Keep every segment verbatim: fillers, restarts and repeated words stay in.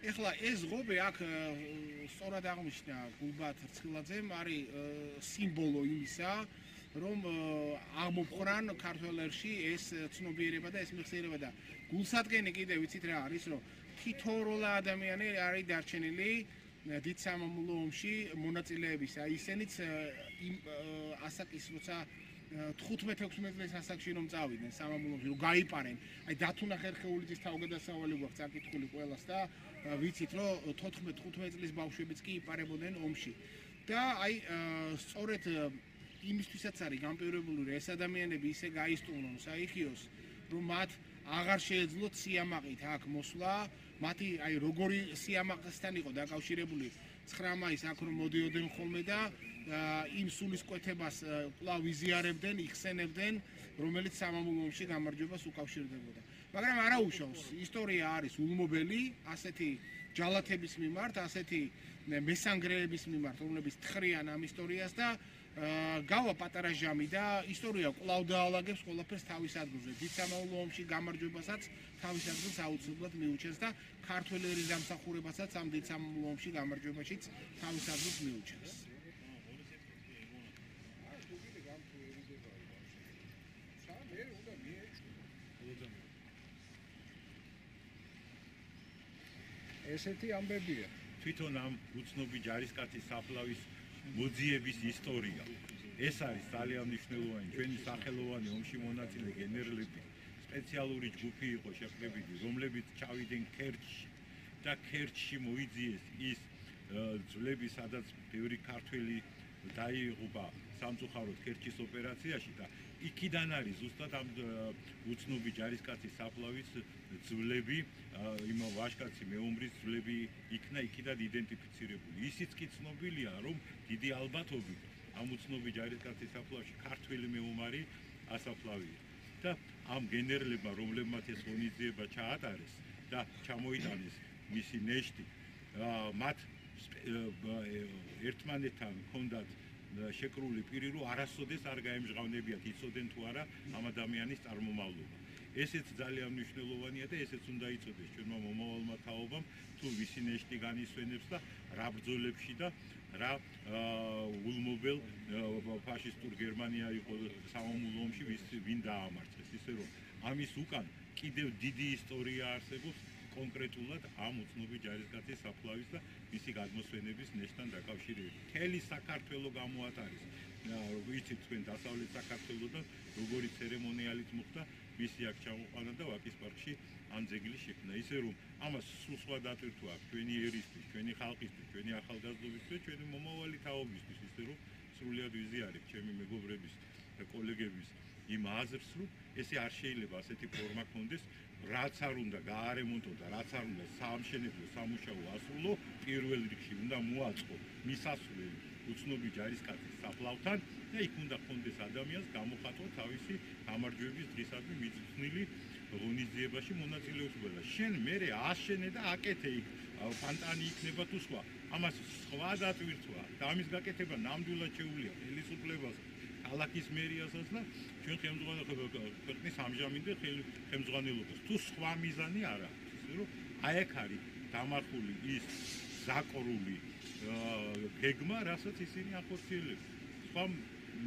ეხლა ეს ღობე აქ სწორად აღნიშნა გულბათ რცხილაძემ არის სიმბოლო იმისა, რომ აღმოფხრან ქართველებში ეს ცნობიერება და ეს მეხსიერება და გულსადგენი კიდე ვიცით რა არის, რომ თითოეული ადამიანი არის დარჩენილი დიდ სამამულო ომში მონაწილეების, აი ისინიც იმ ასაკის როცა თხუთმეტ ექვსმეტ წლის ასაკში რომ წავიდნენ სამამულოში, რომ გაიპარენ, აი დათუნა ხერხეულიძის თავგადასავალი გვაქვს წაკითხული ყველას და ვიცით, რომ თოთხმეტ თხუთმეტ წლის ბავშვებიც კი იპარებოდნენ ომში. და აი სწორედ იმისთვისაც არის განპირობებული, რომ ეს ადამიანები ისე გაისტუმრონ საიქიოს, რომ მათ აღარ შეეძლოთ სიამაყით აქ მოსვლა, მათი აი როგორი სიამაყესთან იყო დაკავშირებული ცხრა მაისს აქ რომ მოდიოდნენ ხოლმე და იმ სულისკვეთებას კვლავ ვიზიარებდნენ, იხსენებდნენ, რომელიც სამამულო ომში გამარჯვებას უკავშირდებოდა. მაგრამ არა უშავს, ისტორია არის ულმობელი, ასეთი ჯალათების მიმართ, ასეთი მესანგრეების მიმართ, რომლებიც თხრიან ამ ისტორიას და გავა პატარა ჟამი და ისტორია კვლავ დაალაგებს ყველაფერს თავის ადგილზე. დიდ სამამულო ომში გამარჯვებასაც თავის ადგილს აუცილებლად მიუჩენს და ქართველი ერის დამსახურებასაც ამ დიდ სამამულო ომში გამარჯვებაშიც თავის ადგილს მიუჩენს. ესეთი ამბებია. თვითონ ამ უცნობი ჯარისკაცის საფლავის მოძიების ისტორია. ეს არის ძალიან მნიშვნელოვანი. ჩვენი სახელოვანი ომში მონაწილე გენერლები სპეციალური ჯგუფი იყო შეყრებილი, რომლებიც ჩავიდნენ ქერჩში და ქერჩში მოიძიეს ის ძვლები, სადაც ბევრი ქართველი დაიღუპა სამწუხაროდ ქერჩის ოპერაციაში და იქიდან არის ზუსტად ამ უცნობი ჯარისკაცის საფლავის ძვლები, იმ ვაჟკაცი მეომრის ძვლები იქნა იქიდან იდენტიფიცირებული. ისიც კი ცნობილია, რომ დიდი ალბათობით ამ უცნობი ჯარისკაცის საფლავში ქართველი მეომარი ასაფლავია. და ამ გენერლებმა, რომლებმაც ეს ღონისძიება ჩაატარეს და ჩამოიტანეს მისი ნეშტი, მათ ერთმანეთთან ჰქონდათ შეკრული პირი, რომ არასოდეს არ გაემჟღავნებიათ, იცოდნენ თუ არა ამ ადამიანის წარმომავლობა. ესეც ძალიან მნიშვნელოვანია და ესეც უნდა იცოდეს ჩვენმა მომავალმა თაობამ, თუ ვისი ნეშტი განისვენებს და რა ბრძოლებში და რა ულმობელ ფაშისტურ გერმანია იყო სამამულო ომში ვინ დაამარცხეს. ისე რომ ამის უკან კიდევ დიდი ისტორია არსებობს კონკრეტულად ამ უცნობი ჯარისკაცის საფლავის და მისი გადმოსვენების ნეშტთან დაკავშირებით. მთელი საქართველო გამოატარეს. ვიცით თქვენ დასავლეთ საქართველოდან როგორი ცერემონიალით მოხდა მისი აქ ჩამოყვანა და ვაკის პარკში ამ ძეგლის შექმნა. ისე რომ ამას სულ სხვა დატვირთვა აქვს ჩვენი ერისთვის, ჩვენი ხალხისთვის, ჩვენი ახალგაზრდობისთვის, ჩვენი მომავალი თაობისთვის. ისე რომ სრულიად ვიზიარებ ჩემი მეგობრების და კოლეგების იმ აზრს, რომ ესე არ შეიძლება ასეთი ფორმა ქონდეს, რაც არ უნდა გაარემონტო და რაც არ უნდა საამშენებლო სამუშაო ასრულო, პირველ რიგში უნდა მოაწყო მისასვლელი უცნობი ჯარისკაცის საფლავთან და იქ უნდა ქონდეს ადამიანს გამოხატვა თავისი გამარჯვების დღისადმი მიწვნილი ღონისძიებაში მონაწილეობა. შენ მერე აშენე და აკეთე იქ ფანტანი იქნება თუ სხვა. ამას სხვა დატვირთვა და ამის გაკეთება ნამდვილად შეუძლია ხელისუფლებას, ქალაქის მერიასაც და ჩვენ ქვეყნის ამჟამინდელ ხელმძღვანელობას. თუ სხვა მიზანი არ აქვს, ისე რომ აი აქ არის დამარხული ის ზაკრული გეგმა, რასაც ისინი ახორციელებენ. სხვა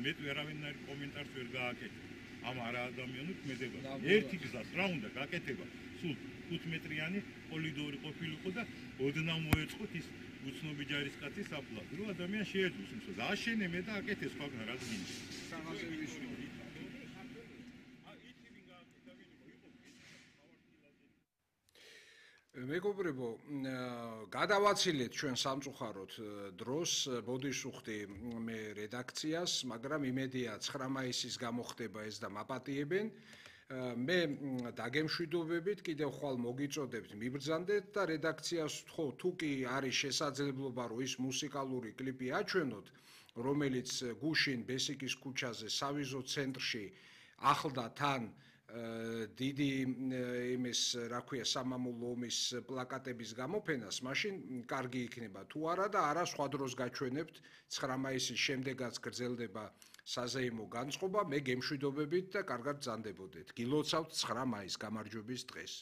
მეტ ვერავენაირ კომენტარს ვერ გააკეთებ ამ არაადამიანურ ქმედებაზე. ერთი გზას რა უნდა გაკეთება, სულ ხუთმეტრიანი კორიდორი ყოფილიყო და ოდნავ მოეწყოთ ის უცნობი ჯარისკაცის საფლავი, რომ ადამიანს შეეძლოს იმას აშენე მე და აკეთე სხვაგან რაც გინდა. მეგობრებო, გადავაცილეთ ჩვენ სამწუხაროდ დროს, ბოდიშუხტი მე რედაქციას, მაგრამ იმედია ცხრა მაისის გამოხდება ეს და მაპატიებენ. მე დაგემშვიდობებით, კიდევ ხვალ მოგიწოდებთ, მიბრძანდეთ და რედაქციას ვთხოვ, თუ კი არის შესაძლებლობა, რომ ის მუსიკალური კლიპი აჩვენოთ, რომელიც გუშინ ბესიკის ქუჩაზე სავიზო ცენტრში ახლდა თან დიდი იმის, რა ქვია, სამამულო ომის პლაკატების გამოფენას, მაშინ კარგი იქნება. თუ არა და არა სხვა დროს გაჩვენებთ, ცხრა მაისის შემდეგაც გრძელდება საზეიმო განწყობა, მე გემშვიდობებით და კარგად ბრძანდებოდეთ. გილოცავთ ცხრა მაისს გამარჯვების დღეს.